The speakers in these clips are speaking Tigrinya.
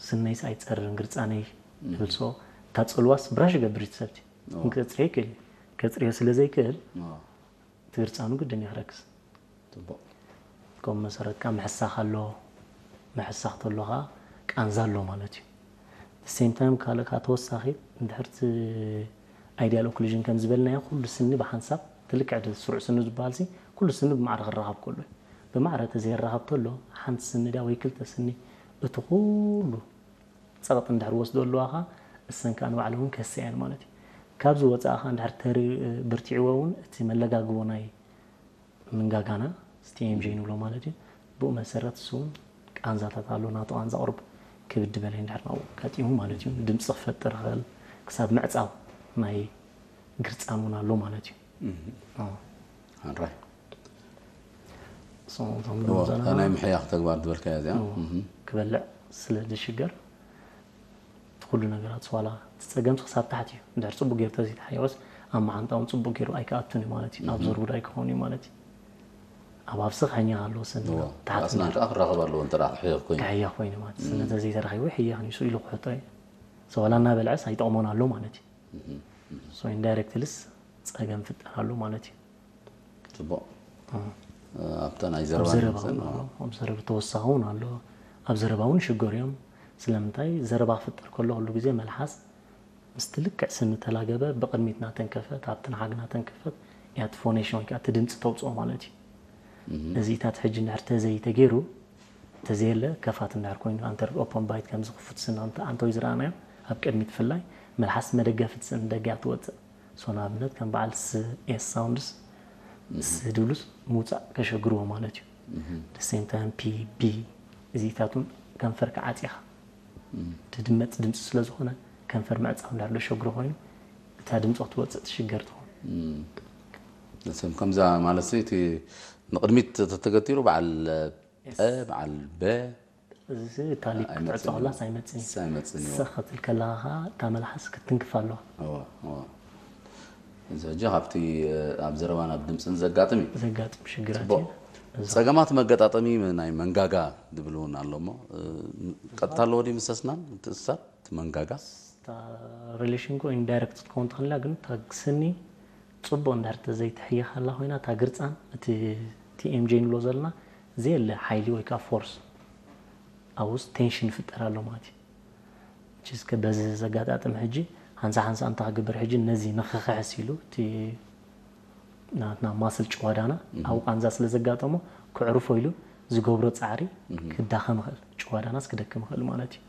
ስነይስ ኣይጸርን ግርጻነይ እብል። So እታ ጽልዋስ ብራሽ ይገብር እዩ እቲ ሰብቲ። ክጽርዮ ይክእል እዩ። ከጽርዮ ስለ ዘይክእል እቲ ግርጻኑ ግድን እዩ ክረክስ። ጽቡቕ። ከምኡ መሰረት ከዓ ምሕሳኽ ኣሎ። ምሕሳኽ ተሎ ከዓ ቃንዛ ኣሎ ማለት እዩ። The same time ካልእ ከዓ ተወሳኺ እንድሕር እቲ ideal occlusion ከም ዝበልናዮ ኩሉ ስኒ ብሓንሳብ ትልክዕ ድ-፣ ስሩዕ ስኒ ዝበሃል ሲ ኩሉ ስኒ ብማዕረ ክራኸብ ከሎ እዩ። ብማዕረ ተዘይራኸብ ተሎ ሓንቲ ስኒ ድያ ወይ ክልተ ስኒ እቲ ኩሉ ጸቕጢ እንድሕር ወስዶ ኣለዋ ከዓ እሰን ከዓ ንባዕሉ እውን ከስያ እየን ማለት እዩ። ካብዚ ወፃኢ ከዓ እንድሕር ተሪ-፣ ብርቲዕዎ እውን እቲ መለጋግቦ ናይ ምንጋጋና ስቲኤምጂ ንብሎ ማለት እዩ። ብኡ መሰረት እሱ እውን ቃንዛታት ኣሎ። ናቱ ቃንዛ ቁሩብ ክብድ በለ እንድሕር ናብኡ ኣጋጢሙ ማለት እዩ። ድምፂ ክፈጥር ይኽእል ክሳብ ምዕፃው ናይ ግርፃን እውን ኣሎ ማለት እዩ። ኣራይ እቶም ናይ ምሕያኽ ተግባር ዝበልካያ እዚኣ ክበልዕ ስለ ዝሽገር እቲ ኩሉ ነገራት ዋላ እቲ ፀገምስ ክሳብ ታሕቲ እዩ። እንድሕር ፅቡቅ ገይሩ ተዘይተሓየወስ ኣብ መዓንጣ እውን ፅቡቅ ገይሩ ኣይከኣቱን እዩ ማለት እዩ። ኣብ ዘርጉድ ኣይክኸውን እዩ ማለት እዩ። ኣብ ኣፍሲ ክሕኛ ኣለዎ ስኒ እዎ። ታሕቲ ኣስናን ከዓ ክራኸብ ኣለዎ እንተ ደኣ ክሕየኽ ኮይኑ ክሕየኽ ኮይኑ ማለት ስነ ተዘይተረኺቡ ይሕየኽ ንሱ ኢሉ ክሕቶ እዩ። So ዋላ እናበልዐስ ኣይጠቕሞን ኣሎ ማለት እዩ። So indirectly ስ ፀገም ፍጠር ኣሎ ማለት እዩ። ጽቡቕ እም። ኣብታ ናይ ኣብ ዘረባ ዘረባ ንምሰል እውን ኣሎ ኣብ ዘረባ ተወሳኺ እውን ኣሎ። ኣብ ዘረባ እውን ይሽገሩ እዮም። ስለምንታይ ዘረባ ክፍጠር ከሎ ኩሉ ግዜ መልሓስ ምስቲ ልክዕ ስኒ ተላገበ ብቕድሚት ናተንከፈት ኣብቲ ንሓግ ናተንከፈት እያ እቲ ፎኔሽን ወይ ከዓ እቲ ድምፂ ተውፅኦ ማለት እዩ። እዚታት ሕጂ እንድሕር ተዘይተገይሩ ተዘየለ ከፋት እንድሕር ኮይኑ ኣንተር ኦፖን ባይት ከምዚ ክፉት ስኒ ኣንተ ኣንተወይ ዝረኣናዮ ኣብ ቅድሚት ብፍላይ መልሓስ መደገፊት ስኒ ደገ እያ ትወፅእ። So ንኣብነት ከም በዓል ስ ኤስ ሳውንድስ ስ ድብሉስ ምውፃእ ከሸግርዎ ማለት እዩ። The same time ፒ ቢ እዚታቱን ከንፈርካ ዓፂኻ ድድመፅ ድምፂ ስለ ዝኾነ ከንፈር ምዕፃው እንዳሎ ሸግሮ ኮይኑ እታ ድምፂ ክትወፅእ ትሽገር ትኾን። እም። ንስም ከምዛ ማለት ሲ እቲ ንቕድሚት ተተገቲሩ በዓል እ በዓል በ እዚ ሲ እታ ሊፕ ክትዕፆ ከላስ ኣይመፅን እዩ። ስ ኣይመፅን እዩ። ሰኸትል ከለኻ ከዓ እታ መልሓስ ክትንክፍ ኣለዋ። እዎ፣ እዎ። እዚ ሕጂ ካብቲ ኣብ ዘረባ ናብ ድምፅን ዘጋጥም እዩ። ዘጋጥም ሽግራት ጽቡቕ። እዩ። ጸገማት መገጣጠሚ ናይ መንጋጋ ዝብል እውን ኣሎ እሞ ቀጥታ ኣለዎ ድዩ ምስ ኣስናን ምትእስሳር እቲ መንጋጋ? እታ ሪሌሽን ኮ ኢንዳይረክት ክትከውን ትኽእል እያ ግን እታ ስኒ ፅቡቅ እንድሕር ተዘይትሕየኻላ ኮይና እታ ግርፃን እቲ ቲኤምጂ ንብሎ ዘለና ዘየለ ሓይሊ ወይ ከዓ ፎርስ ኣብኡ ውስጥ ቴንሽን ይፍጠር ኣሎ ማለት እዩ። እስከ በዚ ዘጋጣጥም ሕጂ ሓንሳ ሓንሳ እንታይ ክግበር ሕጂ ነዚ ንኽኽሕስ ኢሉ እቲ ናትና ማስል ጭዋዳና ኣብ ቃንዛ ስለ ዘጋጠሞ ክዕርፎ ኢሉ ዝገብሮ ፃዕሪ ክዳኸም ይኽእል፣ ጭዋዳናስ ክደክም ይኽእል ማለት እዩ።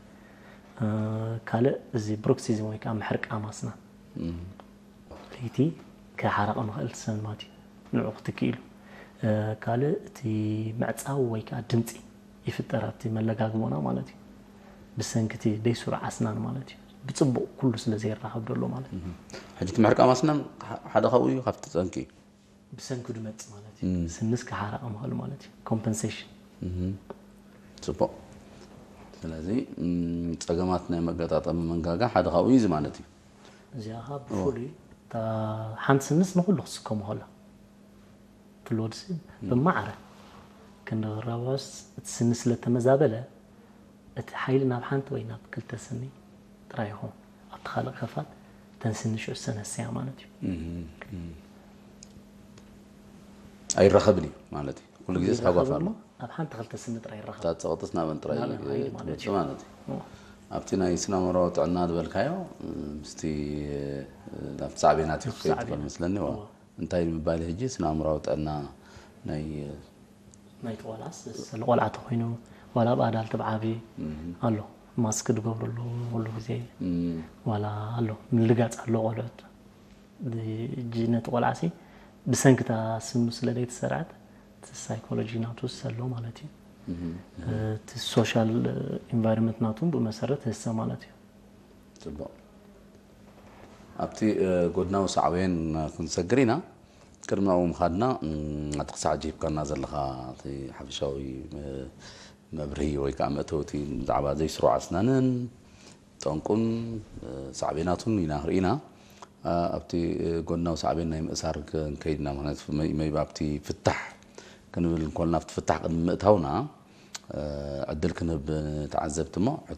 ካልእ እዚ ብሩክሲዝም ወይ ከዓ ምሕርቃም ኣስናን ለይቲ ክሓረቐ ምኽእል ሰንማት እዩ ንዑ ክትክእ ኢሉ። ካልእ እቲ ምዕፃው ወይ ከዓ ድምፂ ይፍጠር ኣብቲ መለጋግቦና ማለት እዩ። ብሰንኪ እቲ ደይስሩዕ ኣስናን ማለት እዩ። ብፅቡቕ ኩሉ ስለ ዘይራኸብ ዘሎ ማለት እዩ። ሕጂ እቲ ምሕርቃም ኣስናን ሓደ ካብኡ እዩ ካብቲ ጠንቂ እዩ። ብሰንኪ ድመፅ ማለት እዩ። ስንስ ክሓረቐ ምኽእል ማለት እዩ። ኮምፐንሴሽን ጽቡቕ። ስለዚ ጸገማት ናይ መገጣጠሚ መንጋጋ ሓደ ካብኡ እዩ ማለት እዩ። እዚኣ ከዓ ብፍሉይ እታ ሓንቲ ስንስ ንኩሉ ክስከሙ ከሎ ትልወድሲ ብማዕረ ክንዲ ክራባስ እቲ ስኒ ስለ ተመዛበለ እቲ ሓይሊ ናብ ሓንቲ ወይ ናብ ክልተ ስኒ ጥራይ ይኸውን። ኣብቲ ካልእ ከፋት እተን ስኒ ሽዑ ዝሰነሰያ ማለት እዩ። ኣይራኸብን እዩ ማለት እዩ። ኩሉ ግዜ ስሓጓፍ ኣሎ። ኣብ ሓንቲ ክልተ ስኒ ጥራይ ይራኸብ። እታ ጸቕጥስ ናበን ጥራይ ናበን ሓይሊ ማለት ትመጽእ እዩ። ማለት እዩ። እዎ። ኣብቲ ናይ ስነ ኣእምሮኣዊ ጥዕና ዝበልካዮ ምስቲ ናብቲ ሳዕቤናት እዩ ናብቲ ክኸይድ ሳዕቤናት። ትኽእል መስለኒ። እዎ። እዎ። እንታይ ንምባል ሕጂ ስነ ኣእምሮኣዊ ጥዕና ናይ ናይቲ ቆልዓስ ስለ ቆልዓ ተኮይኑ ዋላ ኣብ ኣዳልት ብዓቢ ኣሎ ማስክ ዝገብረሉ ኩሉ ግዜ ዋላ ኣሎ ምልጋፅ ኣሎ ቆልዑት ሕጂ ነቲ ቆልዓ ሲ ብሰንክታ ስኑ ስለ ዘይተሰርዐት እቲ ሳይኮሎጂ ናቱ ኣሎ ማለት እዩ። እቲ ሶሻል ኢንቫይሮንመንት ናቱ ብመሰረት ህሰ ማለት እዩ። ጽቡቕ። ኣብቲ ጎድናዊ ሳዕቤን ክንሰግር ኢና። ቅድሚ ኣብኡ ምኻድና እቲ ክሳዕ ጅሂብካና ዘለኻ እቲ ሓፈሻዊ መብርሂ ወይ ከዓ መእተውቲ ብዛዕባ ዘይስሩዕ ኣስናንን ጠንቁን ሳዕቤናቱን ኢና ርኢና። ኣብቲ ጎድናዊ ሳዕቤን ናይ ምእሳር ክንከይድ ኢና። ምክንያቱ መይቢ ኣብቲ ፍታሕ ክንብል እንኮልና ኣብቲ ፍታሕ ቅድሚ ምእታውና ዕድል ክንህብ ንተዓዘብቲ እሞ